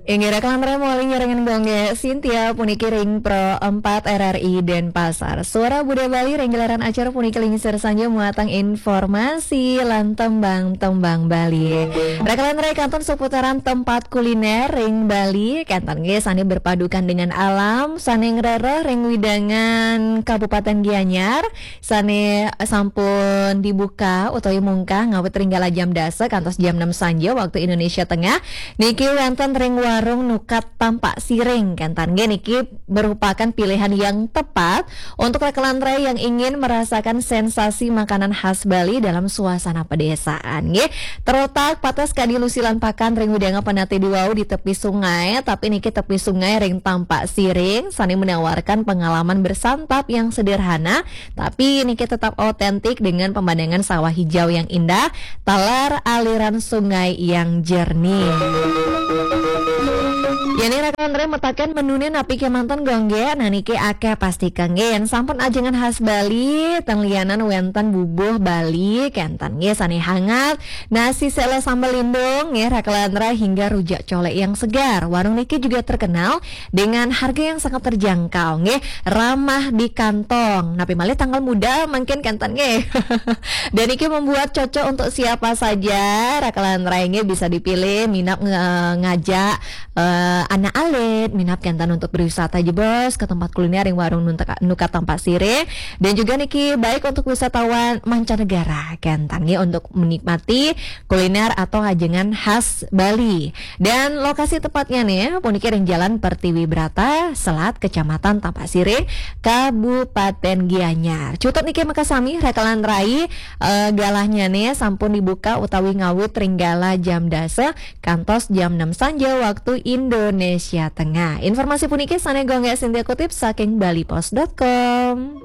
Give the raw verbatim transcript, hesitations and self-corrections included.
Inggih, rakan malih nyarengin Gung Gé Sintia puniki ring Pro empat R R I Denpasar. Suara Budaya Bali ring gelaran acara puniki lingsir sanjaya muatang informasi lan tembang-tembang Bali. Rakan kantun seputaran tempat kuliner ring Bali, kantun nggih sané berpadukan dengan alam, sané ngrereh ring wewidangan Kabupaten Gianyar, sané sampun dibuka utawi mungkah ngawit ring kala jam dasa kantos jam enam sanjaya waktu Indonesia Tengah. Niki wénten ring warung Nukat Tampak Siring, kantun nggih niki merupakan pilihan yang tepat untuk rakan yang ingin merasakan sensasi makanan khas Bali dalam suasana pedesaan nggih. Terletak patas kadi lusilan pakan ring wewidangan Penatih Dwi wau di tepi sungai, tapi niki tepi sungai ring Tampak Siring, sané menawarkan pengalaman bersantap yang sederhana, tapi niki tetap otentik dengan pemandangan sawah hijau yang indah, taler aliran sungai yang jernih. Yén rakan mataken menuné napi kémanten Gung Gé, nah niki akéh pasti kangge. Yén sampun ajengan khas Bali, ten lianan wénten bubuh Bali, kantun nggih sané hangat, nasi sela sambal lindung, nggih, rakan hingga rujak colek yang segar. Warung niki juga terkenal dengan harga yang sangat terjangkau, nggih, ramah di kantong. Napi malih tanggal muda mungkin kantun nggih. Dan niki membuat cocok untuk siapa saja, rakan nggih, bisa dipilih minab nge-, ngajak, eh, anak alit, minab kantun untuk berwisata jebos ke tempat kuliner ring warung Nuntek-, Nukat Tampak Siring. Dan juga niki baik untuk wisatawan mancanegara kantun nggih untuk menikmati kuliner atau ajengan khas Bali. Dan lokasi tepatnya nih, puniki ring Jalan Pertiwi Brata, Selat, Kecamatan Tampak Siring, Kabupaten Gianyar. Cutet niki makasami, rakan rai, eh, galahnya nih sampun dibuka utawi ngawit ring kala jam dasa kantos jam enam sanjaya waktu Indonesia Tengah. Informasi puniki sané Gung Gé Sintia kutip saking bali post dot com.